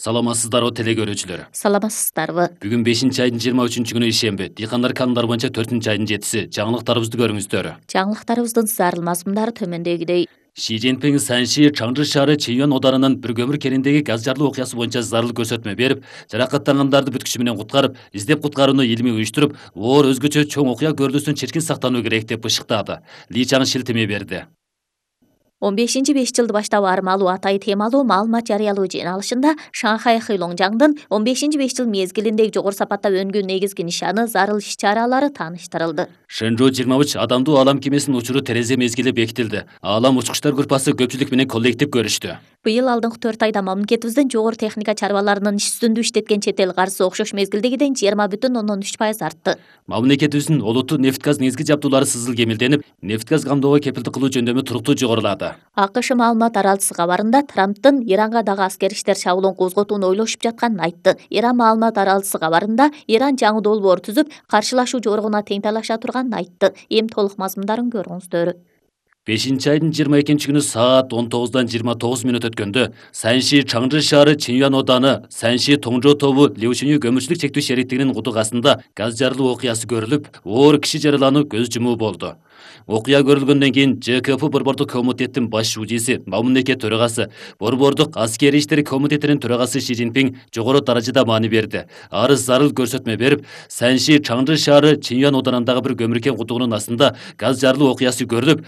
Саламатсыздарбы теле көрүүчүлөр. Саламатсыздарбы. Бүгүн 5-айдын 23 күнү ишемби. Дыйкандар канундар боюнча 4-айдын 7-си. Жаңылыктарыбызды көрүңүздөр. Жаңылыктарыбыздын зарыл мазмундары төмөндөгүдөй. Ши Цзиньпин Санши Чаңжы шаары Чиньюан оданынын бир көмүр кениндеги газ жарылуу окуясы боюнча зарыл көрсөтмө берип, жаракаттангандарды бүткүчү менен куткарып, издеп куткарууну илимий уюштуруп, оор өзгөчө чоң окуя көрүлүүсүн чиркин сактануу керек деп ышыктады. Ли Чаң шилтеме берди. 15-5 жылды баштап армалуу атай темалуу маалымат жарыялоо жыйналышында Шанхай Хэйлоңжаңдын 15-5 жыл мезгилиндеги жогору сапатта өнүгүү негизги нишаны, зарыл иш-чаралары тааныштырылды. Шэнжоу 23 адамдуу алам кемесинин учуру терезе мезгили бекитилди. Алам учкучтар группасы көпчүлүк менен коллектив көрүштү. Быйыл алдыңкы 4 айда мамлекетибиздин жогору техника чарбаларынын иш үстүндө иштеткен чет эл каржысы окшош мезгилдегиден 20,3% артты. Мамлекетибиздин олуттуу нефть-газ негизги жабдуулары сызыл кемелденип, нефть-газ камдоого кепилдик кылуу жөндөмү туруктуу жогорулады. АКШ маалымат аралчысы кабарында Трамптын Иранга дагы аскер иштер чабуулун козготууну ойлошуп жатканын айтты. Иран маалымат аралчысы кабарында Иран жаңы долбоор түзүп, каршылашуу жоругуна тең талаша турганын айтты. Эми толук мазмундарын көрүңүздөр. 5-айдын 22 күнү саат 19:29 өткөндө Санши Чаңжы шаары Чиньюан оданы Санши Тоңжо тобу Леушиню көмүрчүлүк чектөө шериктигинин кудугасында газ жарылуу окуясы көрүлүп, оор киши жаралануу көз жумуу болду. Окуя көрүлгөндөн кийин ЖКП Борбордук комитеттин баш шудиси, мамлекет төрагасы, Борбордук аскери иштер комитетинин төрагасы Ши Цзиньпин жогору даражада маани берди. Арыз зарыл көрсөтмө берип, Санши Чаңжы шаары Чиньюан оданындагы бир көмүркен кудугунун астында газ жарылуу окуясы көрүлүп,